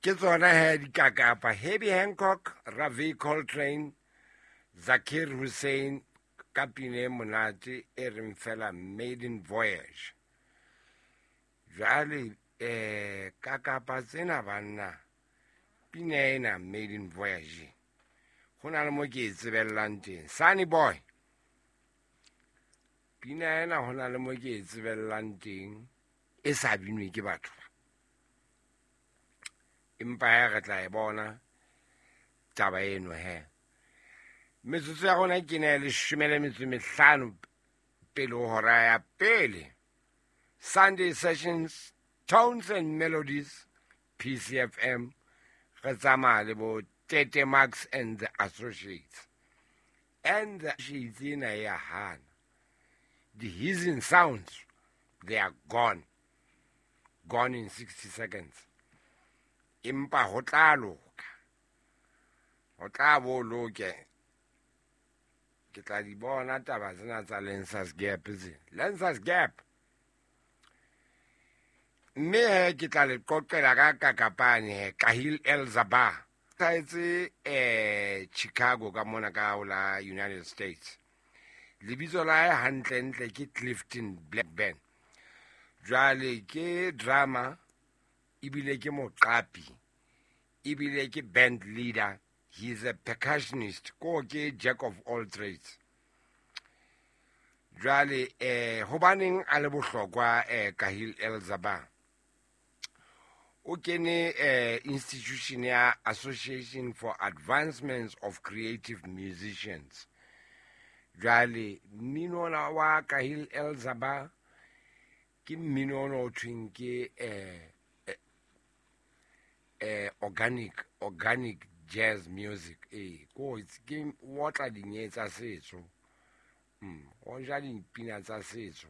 Ke tsona he dikakapa. Herbie Hancock, Ravi Coltrane, Zakir Hussain ka pina e monate e reng fela Maiden Voyage. Jwale kakapa tsena banna, pina ena Maiden Voyage ho na le mo ke e tsebellang teng. Sunny Boy, pina ena ho na le mo ke e tsebellang teng e sa binwe ke batho ba. Empa he re tla e bona taba eno he. Metsotso ya rona ke ne 15 pele ho hora ya pele. Sunday Sessions, Tones and Melodies, PCFM, re tsamaya le bo Tete Max and the Associates. And the Associates ena ya hana. The hissing sounds, they are gone. Gone in 60 seconds. Empa ho tla loka. Ho tla bo loke. Ke tla di bona taba tsena tsa Lensas Gap tse. Lensas Gap. Mme he ke tla le qoqela ka kakapane he, Kahil El Zabar. Hlahetse Chicago ka mona ka ho la United States. Lebitso la hae hantlentle ke Clifton Blackburn. Jwale ke drama, ebile ke moqapi, ebile ke band leader. He is a percussionist, ko ke jack of all trades. Jwale hobaneng a le bohlokwa Kahil El Zabar? O kene institution ya Association for Advancements of Creative Musicians. Jwale mmino ona wa Kahil El Zabar ke mmino ona o thweng ke organic jazz music. Ko ke o otla dinye tsa setso. O ja dipina tsa setso.